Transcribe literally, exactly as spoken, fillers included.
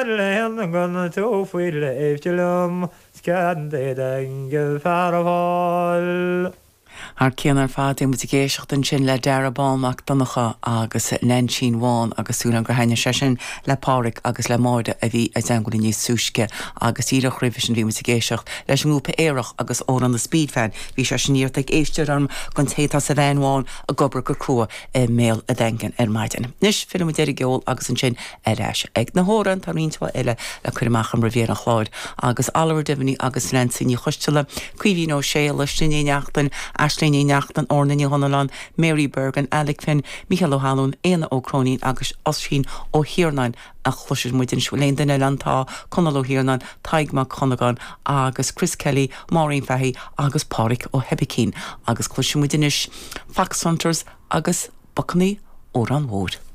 Gan tú faoi léifte liom Scan fear fáil. Thar cionn ar fad muid ag éisteacht ansin le Dara Bán Mac Donncha agus Neainsín Bhán agus súil gur thaithin sé sin le Pádraig agus le Máire a bhí ag teagmháil níos túisce agus díreach roimhe sin bhí muid ag éisteacht leis an ngrúpa Aerach agus amhrán na Speedfan bhí sé sin iarrtha ag éisteoir orm don té atá sa veain bhán ag obair go crua i mBéal an Daingin ar maidin. Anois fillfidh muid ar an gceol agus ansin ar ais ag na hamhráin tá roinnt eile le cur amach an roimh an chlár agus Oliver Devaney agus Nancy Ní Choisteala, Caoimhín Ó Sé leis ní neachtain Aisling Ní Neachtain Orna Ní Honán, Mary Bergen, Alec Finn, Michael O'Halloran, Éanna Ó Cróinín agus Oisín Ó hIarnáin a chloisfidh muid an léon duine lantá Conal Ó hIarnáin, Tadhg Mac Cunagáin agus Chris Kelly, Maureen Fahy agus Pádraig Ó hOibicín agus cloisfidh muid anois Fox Hunters agus Bacannaí Órán Mhóir.